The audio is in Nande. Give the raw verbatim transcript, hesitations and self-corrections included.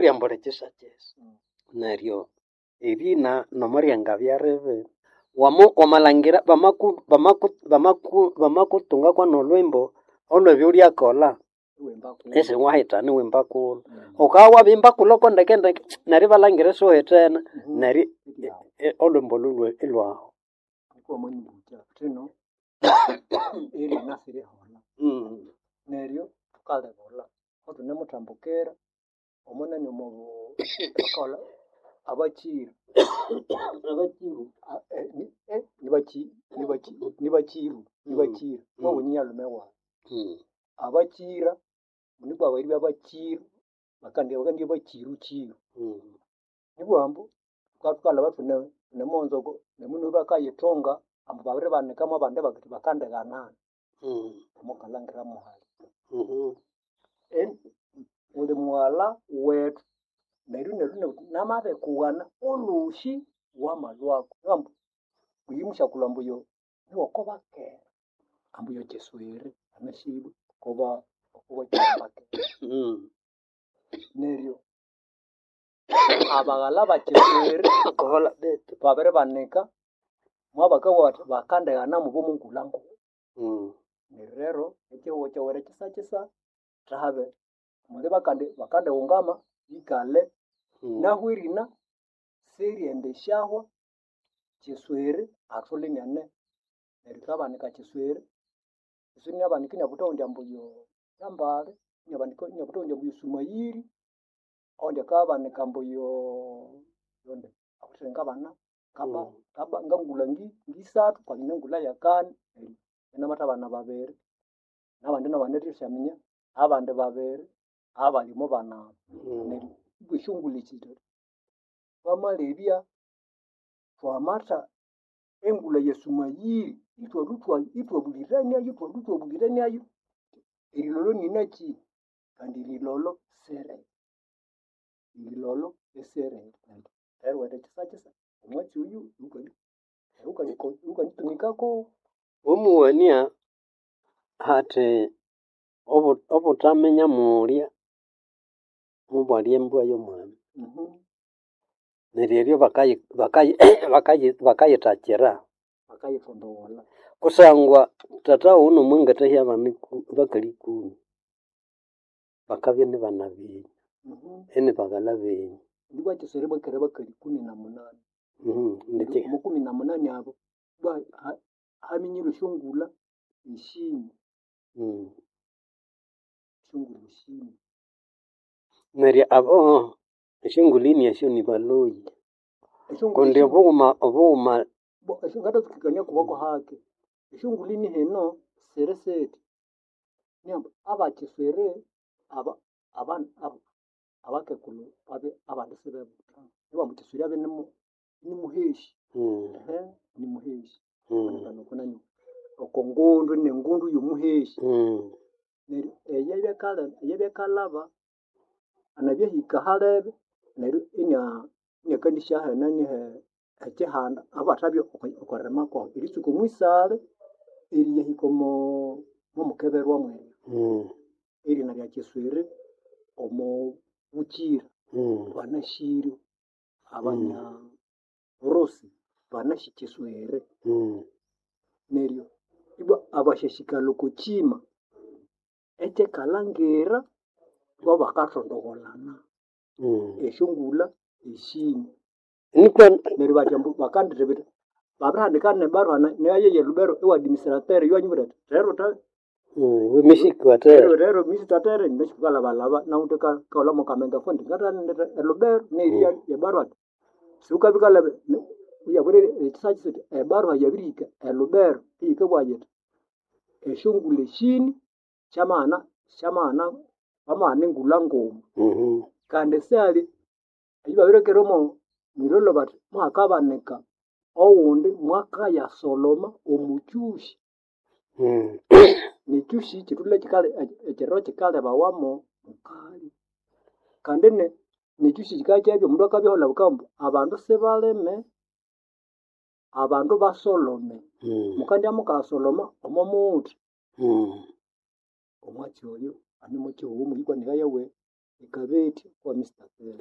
Ryambulha ekyisa-kyisa. Neryo erina nomuryangabya ribi, wama wamalhangira bamaku bamaku bamaku bamakutunga kwanolhwimbo olhwebyo wulyakolha isiwahitana iwimba kulho. Wukabya wabirihimba kulho kwandekendeke neryo ibalhangira isiwuhitene neryo olhwimbo olho ilhwahwa. Thino erina siriholha neryo thukalibulha ithunemuthambukira omunani omo bakaghulha abakyiro Abakyiru nibakyiru nibakyiru wabune nyalume wayi. Abakyira nikwa eribya bakyiru bakandibya bakyiru kyiru. Nibughambu thukabya thukalhaba ithune thunemughunza oko nemundu bakayithunga ambu babiribanika mwabandi bathi bakandighanana omokalhangira muhali. Wuli mughalha wethu neryo inalhwa inabugha athi namabirikughana olhosi wamalhwako. Ambu oyo musyakulhu ambu oyo niwoko bakera ambu oyo kyiswiri anasibwe okoba okobakera. Neryo abaghalha bakyiswiri babiribanika mwabakabugha bathi bakandighana mubo mongulha nguma. Neryo rero ekyihugho kyowere kyisa kyisa thahabe muli bakandi bakandighungama bikale nahu erina siryendisyahwa kyiswiri athuli iniane neryo thwabanika kyiswiri, kyiswiri inabanika inabutha owundi ambu yo Kambale, inabanika inabutha owundi ambu yo Sumayiri, owundi akabanika ambu yoo yonde awithe ngabana ngaba ngaba ngangulha ngisathu kwanyine engulha yakani neryo inamathabana babiri nabandi nabandi thwasyaminya abandi babiri abali omo bana abo. Neryo ibwa esyongulho esi twamalebya twamatha engulha ya Sumayiri ithwalhwa ithwabuliraniayo ithwalhwa ithwabuliraniayo erilolho ninakyi kandi erilolho siriri. Erilolho isiriri. Eriwethu ekyisa kyisa omwatsi oyu iwukandi iwukanditumikako. Omughania hathi obu- obuthaminya mulya mubwalya embwa yomwana. Neryo eryo bakayi bakayi bakayi bakayithakira. Bakayithondogholha. Kusangwa thatha wuwe nomwangathahya abana ikumi bakali ikumi, bakabya inibana benyu, inibaghalha benyu. Nibwa kyiswiri bwakere bakali ikumi na munani. Ndeke Omo kumi na munani abo bwa haminyire esyongulha esini. Esyongulha esini. Neryo abo esyongulhini esyo nibaloyi Esyongulha kundi esini obughuma obughuma ngatatsukikania kuboko hake. Esyongulhini hino siri sithi. Nihamba abakyiswiri aba aba abakekulhu babya abandi isibebutha. Nibughambu kyiswiri abye inimuheshi. Ehe inimuheshi. Oko ngundu inengundu yomuheshi. Neryo eyabya eyabyakalhaba anabya ahika ahalebe neryo inya inakandisyaha enani ekyihanda ahabathabya okwaririma kwahu. Eritsuka omwisale eriyahika omo momukeberwa mweryo. Erina rya kyiswiri omo bukyira banasiryo abanya burusi banasi kyiswiri. Neryo ibwa abasyasikalha oko kyima ekyekalhangira bobakathondogholana esyongulha esini. Nikwa Neryo bathi ambu bakandithibitha babirihandika nebarua nayo ye Lubero ewa administrateur ywanyibwira athi rero tha wimishikatera rero rero misitatere nasi thukalhabalhaba nawithe kaghulha mwakamenge ako indi ngathaghenda elubero nerya ebarua athi sighukabya wukalaba iyabwira ekyisa kyisa athi ebarua yabirihika elubero iyikabugha yithi esyongulha esini syamaghana syamaghana bamaghana engulha nguma. Kandi sihali eyababirekeramu mwilholho bathi muhakabanika owundi mwakayasoloma omukyusi. Nekyusi kyithulhe kyikali ekyiro kyikalebawamo mukali. Kandi ne nekyusi kyikakyabya omundu akabyaholha bakabughambu abandu sibalime, abandu basolome. Mukandya mukayasoloma omo muthi. Omwatsi oyo anemokyihugho omwiyikwaniraye Ekabeti kwa Mister Pere.